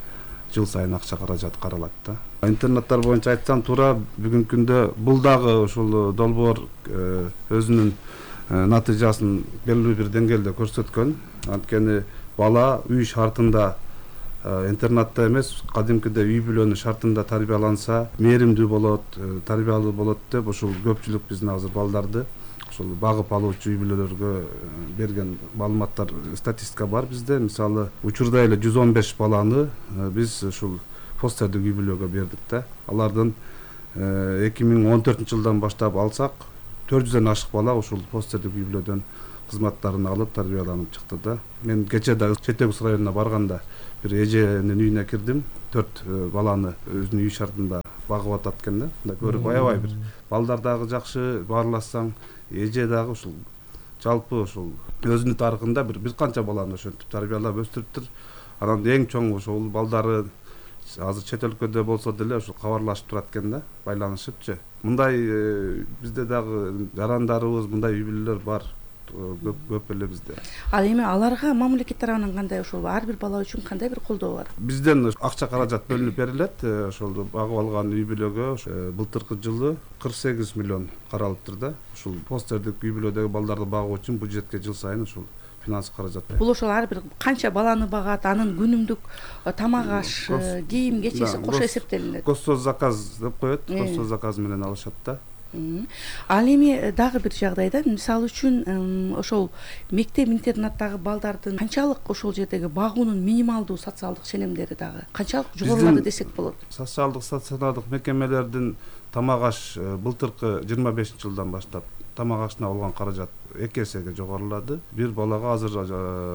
жыл сайын акча каражат каралат да. Интернаттар боюнча айтсам туура бүгүнкү күндө бул дагы ушул долбоор өзүнүн натыйжасын белгилүү бир деңгээлде көрсөткөн. Анткени бала үй шартында, интернатта эмес, кадимкидей үй бүлөнүн шартында тарбияланса, мээримдүү болот, тарбиялуу болот деп ушул көпчүлүк биздин азыр балдарды ушул багып алуучу үй бүлөлөргө берген маалыматтар, статистика бар бизде. Мисалы, учурда эле 115 баланы биз ушул фостердик үй бүлөгө бердик да. Алардын 2014 жылдан баштап алсак, 400дөн ашык бала ушул фостердик үй бүлөдөн кызматтарын алып тарбияланып чыкты да. Мен кече да Чет Өкс районуна барганда бир эженин үйүнө кирдим. 4 баланы өзүнүн үй шартында багып атат экен да. Мындай көрүп аябай бир балдар дагы жакшы, баарласаң, эже дагы ушул жалпы ушул өзүнүн тарыхында бир канча баланы ошентип тарбиялап өстүрүптүр. Анан эң чоң ошол балдары азыр чет өлкөдө болсо деле ушул кабарлашып турат экен да, байланышыпчы. Мындай бизде дагы жарандарыбыз, мындай үй бүлөлөр бар. Көп эле бизде. Ал эми аларга мамлекет тарабынан кандай ошол ар бир бала үчүн кандай бир колдоо бар? Бизден акча каражат бөлүнүп берилет. Ошол багып алган үй бүлөгө былтыркы жылы 48 миллион каралыптыр да. Ушул постердик үй бүлөдөгү балдарды багуу үчүн бюджетке жыл сайын ушул финанс каражат. Бул ошол ар бир канча баланы багат, анын күнүмдүк тамак аш, кийим кечеси кошо эсептелинет. Госзаказ деп коет. Госзаказ менен алышат да. Ал эми дагы бир жагдайда, мисалы үчүн ошол мектеп интернаттагы балдардын канчалык ошол жердеги багуунун минималдуу социалдык ченемдери дагы канчалык жогорулады десек болот? Социалдык стационардык мекемелердин тамак аш былтыркы 25 жылдан баштап тамак ашына болгон каражат 2 эсеге жогорулады. Бир балага азыр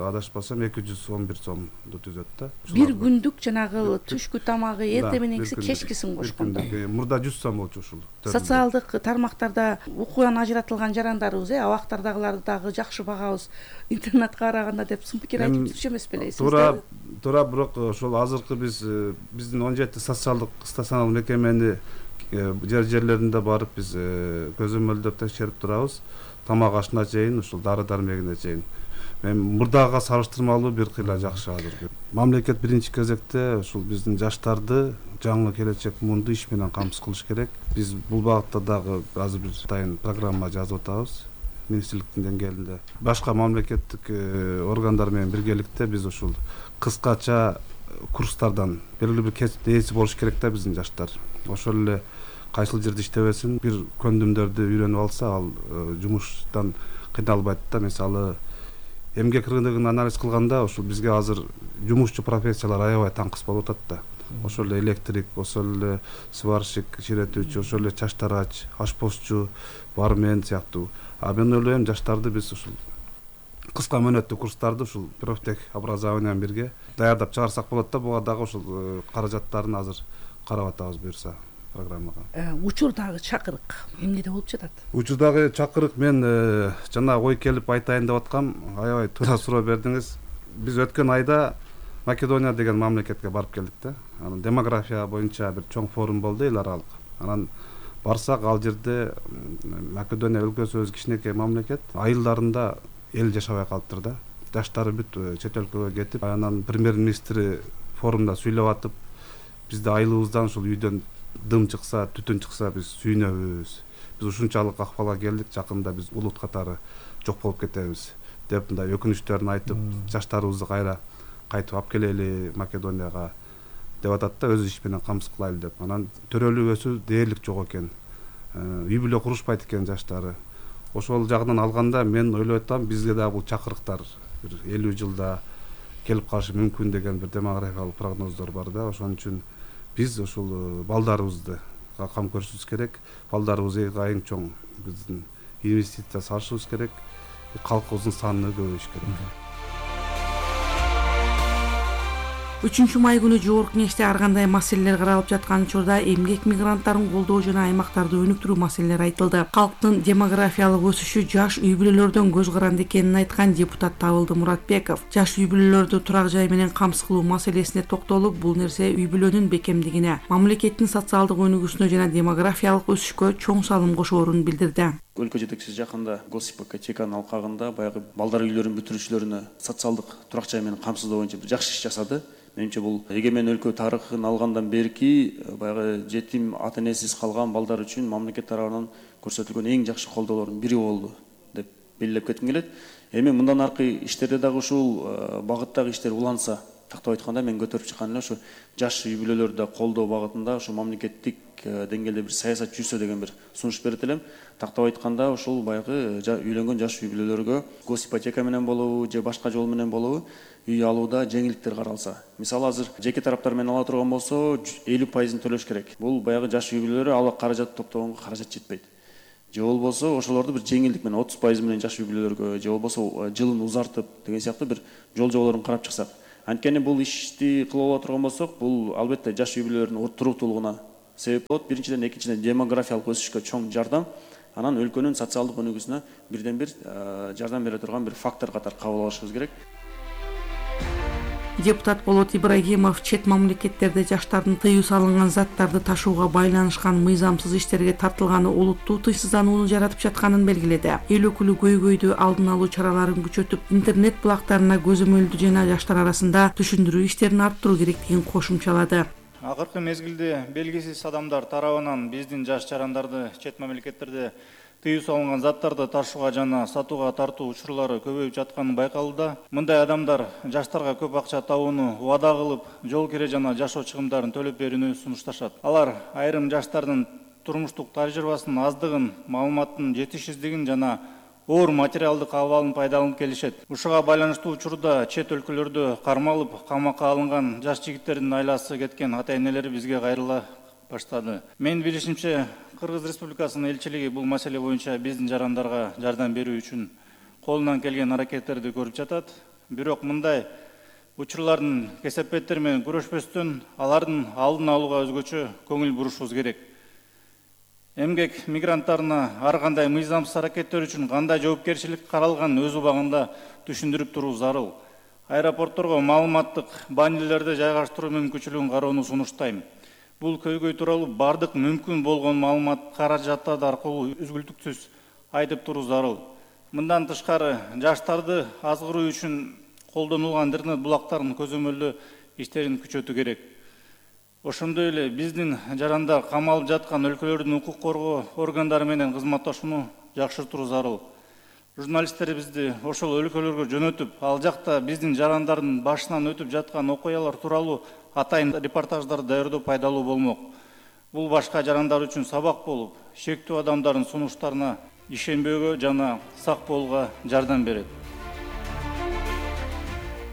адашпасам 211 сомду түзөт да. Бир күндүк жанагы түшкү тамагы эртең мененкиси кечкисин кошкондо. Мурда 100 сом болчу ушул. Социалдык тармактарда укуган ажыратылган жарандарыбыз, абактардагыларды дагы жакшы багабыз интернетке караганда деп сын пикир айтып жүрчү эмес белесиз? Туура, бирок ошол азыркы биздин 17 социалдык стационар мекемени жерлеринде барып биз көзөмөлдөп текшерип турабыз. Тамак ашына чейин, ушул дары-дармегине чейин. Мен мурдага салыштырмалуу бир кыйла жакшы азыр. Мамлекет биринчи кезекте ушул биздин жаштарды жаңы келечек муунду иш менен камсыз кылыш керек. Биз бул багытта дагы азыр бир атайын программа жазып атабыз. Министрликтин деңгээлинде. Башка мамлекеттик органдар менен биргеликте биз ушул кыскача курстардан белгилүү бир кесип ээси болуш керек да биздин жаштар. Ошол эле кайсыл жерде иштебесин, бир көндүмдөрдү үйрөнүп алса, ал жумуштан кыйналбайт да. Мисалы, эмгек рыногун анализ кылганда, ошол бизге азыр жумушчу профессиялар аябай таңкыс болуп атат да. Ошол эле электрик, ошол эле сварщик, чиретүүчү, ошол эле чачтарач, ашпозчу, бармен сыяктуу. А мен ойлойм, жаштарды биз ушул кыска мөөнөттүү курстарды ушул профтех образование менен бирге даярдап чыгарсак болот да. Буга дагы ушул каражаттарын азыр карап атабыз буюрса программага. Учурдагы чакырык эмнеде болуп жатат? Учурдагы чакырык мен жана ой келип айтайын деп аткам, аябай туура суроо бердиңиз. Биз өткөн айда Македония деген мамлекетке барып келдик да. Анан демография боюнча бир чоң форум болду эл аралык. Анан барсак, ал жерде Македония өлкөсү өз кичинекей мамлекет, айылдарында эл жашабай калыптыр да. Жаштары бүт чет өлкөгө кетип, анан премьер-министри форумда сүйлөп атып, бизде айылыбыздан ушул үйдөн дым чыкса, түтүн чыкса биз сүйүнөбүз. Биз ушунчалык акыбалга келдик, жакында биз улут катары жок болуп кетебиз деп мындай өкүнүчтөрүн айтып, жаштарыбызды кайра кайтып алып келели Македонияга деп атат да, өз иш менен камсыз кылайлы деп. Анан төрөлүк өсүү дээрлик жок экен. Үй бүлө курушпайт экен жаштары. Ошол жагынан алганда мен ойлоп атам, бизге дагы бул чакырыктар бир 50 жылда келип калышы мүмкүн деген бир демографиялык прогноздор бар да. Ошон үчүн биз ушул балдарыбызды кам көрүшүбүз керек. Балдарыбызга эң чоң биздин инвестиция салышыбыз керек. Калкыбыздын санын көбөйтүш керек. 3 май күнү жогорку кеңеште ар кандай маселелер каралып жаткан учурда эмгек мигранттарын колдоо жана аймактарды өнүктүрүү маселелери айтылды. Калктын демографиялык өсүшү жаш үй бүлөлөрдөн көз каранды экенин айткан депутат Табылды Муратбеков жаш үй бүлөлөрдү турак жай менен камсыз кылуу маселесине токтолуп, бул нерсе үй бүлөнүн бекемдигине, мамлекеттин социалдык өнүгүүсүнө жана демографиялык өсүшкө чоң салым кошоорун билдирди. Өлкө жетекчиси жакында госипотеканын алкагында баягы балдар үйлөрүн бүтүрүүчүлөрүнө социалдык турак жай менен камсыздоо боюнча жакшы иш жасады. Менимче бул эгемен өлкө тарыхын алгандан берки баягы жетим ата энесиз калган балдар үчүн мамлекет тарабынан көрсөтүлгөн эң жакшы колдоолордун бири болду деп белгилеп кетким келет. Эми мындан аркы иштерде дагы ушул багыттагы иштер уланса, тактап айтканда мен көтөрүп чыккан эле ушу жаш үй бүлөлөрдү колдоо багытында ушу мамлекеттик деңгээлде бир саясат жүрсө деген бир сунуш берет элем. Тактап айтканда ушул баягы үйлөнгөн жаш үй бүлөлөргө госипотека менен болобу же башка жол менен болобу үй алууда жеңилдиктер каралса. Мисалы азыр жеке тараптар менен ала турган болсо 50% төлөш керек. Бул баягы жаш үй бүлөлөр ала каражат топтогонго каражат жетпейт. Же болбосо ошолорду бир жеңилдик менен 30% менен жаш үй бүлөлөргө, же болбосо жылын узартып деген сыяктуу бир жол жоболорун карап чыксак. Анткени бул ишти кылып ала турган болсок, бул албетте жаш үй бүлөлөрдүн туруктуулугуна себеп болот. Биринчиден, экинчиден демографиялык өсүшкө чоң жардам, анан өлкөнүн социалдык өнүгүүсүнө бирден бир жардам бере турган бир фактор катары кабыл алышыбыз керек. Депутат Болот Ибрагимов чет мамлекеттерде жаштардын тыюу салынган заттарды ташууга байланышкан мыйзамсыз иштерге тартылганы олуттуу тыйсызданууну жаратып жатканын белгиледи. Эл өкүлү көйгөйдү алдын алуу чараларын күчөтүп, интернет булактарына көзөмөлдүү жана жаштар арасында түшүндүрүү иштерин арттыруу керектигин кошумчалады. Акыркы мезгилде белгисиз адамдар тарабынан биздин жаш жарандарды чет мамлекеттерде тыюу салынган заттарды ташууга жана сатууга тартуу учурлары көбөйүп жатканы байкалууда. Мындай адамдар жаштарга көп акча табууну убада кылып, жол кире жана жашоо чыгымдарын төлөп берүүнү сунушташат. Алар айрым жаштардын турмуштук тажрыйбасынын аздыгын, маалыматтын жетишсиздигин жана оор материалдык абалын пайдаланып келишет. Ушуга байланыштуу учурда чет өлкөлөрдө кармалып, камакка алынган жаш жигиттердин айласы кеткен ата энелери бизге кайрыла баштады. Менин билишимче, Кыргыз Республикасынын элчилиги бул маселе боюнча биздин жарандарга жардам берүү үчүн колунан келген аракеттерди көрүп жатат. Бирок мындай учурлардын кесепеттери менен күрөшпөстөн алардын алдын алууга өзгөчө көңүл бурушубуз керек. Эмгек мигранттарына ар кандай мыйзамсыз аракеттер үчүн кандай жоопкерчилик каралганын өз убагында түшүндүрүп туруу зарыл. Аэропортторго маалыматтык баннерлерди жайгаштыруу мүмкүнчүлүгүн кароону сунуштайм. Бул көйгөй тууралуу бардык мүмкүн болгон маалымат каражаттар аркылуу үзгүлтүксүз айтып туруу зарыл. Мындан тышкары жаштарды азгыруу үчүн колдонулган интернет булактарын көзөмөлдөө иштерин күчөтүү керек. Ошондой эле биздин жарандар камалып жаткан өлкөлөрдүн укук коргоо органдары менен кызматташууну жакшыртуу зарыл. Журналисттерибизди ошол өлкөлөргө жөнөтүп, ал жакта биздин жарандардын башынан өтүп жаткан окуялар тууралуу атайын репортаждар даярдоо пайдалуу болмок. Бул башка жарандар үчүн сабак болуп, шектүү адамдардын сунуштарына ишенбөөгө жана сак болууга жардам берет.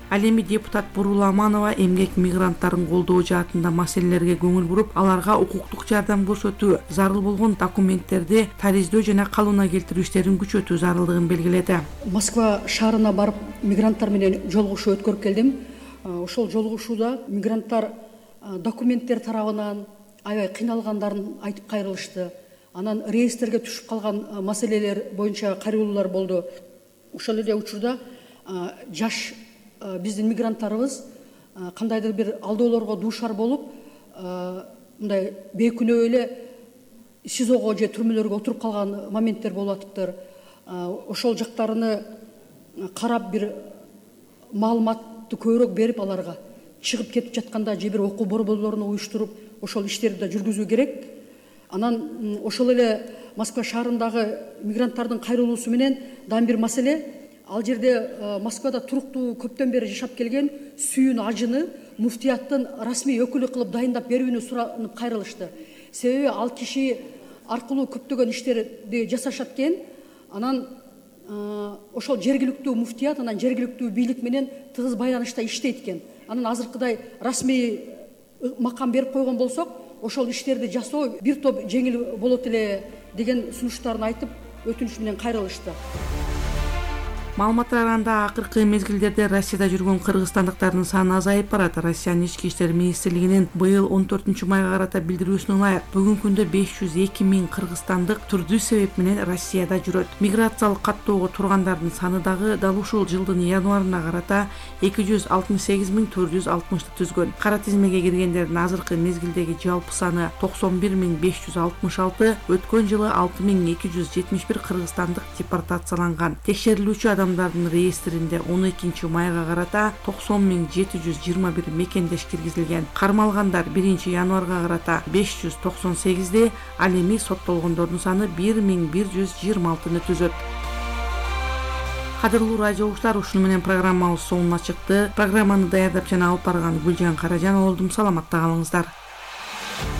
Ал эми депутат Бурула Аманова эмгек мигранттарын колдоо жаатында маселелерге көңүл буруп, аларга укуктук жардам көрсөтүү, зарыл болгон документтерди тариздөө жана калыбына келтирүү иштерин күчөтүү зарылдыгын белгиледи. Москва шаарына барып мигранттар менен жолугушуу өткөрүп келдим. Ошол жолугушууда мигранттар документтер тарабынан аябай кыйналгандарын айтып кайрылышты. Анан реестрге түшүп калган маселелер боюнча кайрылуулар болду. Ошол эле учурда жаш биздин мигранттарыбыз кандайдыр бир алдоолорго дуушар болуп, мындай бейкүнөө эле СИЗОго же түрмөлөргө отуруп калган моменттер болуп атыптыр. Ошол жактарыны карап бир маалыматты көбүрөөк берип аларга чыгып кетип жатканда же бир окуу борборлоруну уюштуруп ошол иштерди да жүргүзүү керек. Анан ошол эле Москва шаарындагы мигранттардын кайрылуусу менен дагы бир маселе. Ал жерде Москвада туруктуу көптөн бери жашап келген Сүйүн Ажыны муфтияттын расмий өкүлү кылып дайындап берүүнү суранып кайрылышты. Себеби ал киши аркылуу көптөгөн иштерди жасашат экен. Анан ошол жергиликтүү муфтият анан жергиликтүү бийлик менен тыгыз байланышта иштейт экен. Анан азыркыдай расмий макам берип койгон болсок, ошол иштерди жасоо бир топ жеңил болот эле деген сунуштарын айтып, өтүнүш менен кайрылышты. Маалыматтар анда акыркы мезгилдерде Россияда жүргөн кыргызстандыктардын саны азайып барат. Россиянын ички иштер министрлигинин быйыл 14-майга карата билдирүүсүнө ылайык бүгүнкү күндө 502 миң кыргызстандык түрдүү себеп менен Россияда жүрөт. Миграциялык каттоого тургандардын саны дагы дал ушул жылдын январына карата 268.460 түзгөн. Кара тизмеге киргендердин азыркы мезгилдеги жалпы саны 91.566, өткөн жылы 6.271 кыргызстандык депортацияланган. Текшерилүүчү адамдардын реестринде 12-майга карата 90.721 мекендеш киргизилген. Кармалгандар 1-январга карата 598, ал эми соттолгондордун саны 1126 түзөт. Кадырлуу радио угуштар, ушуну менен программабыз соңуна чыкты. Программаны даярдап жана алып барган Гүлжан Каражан болдум. Саламатта калыңыздар.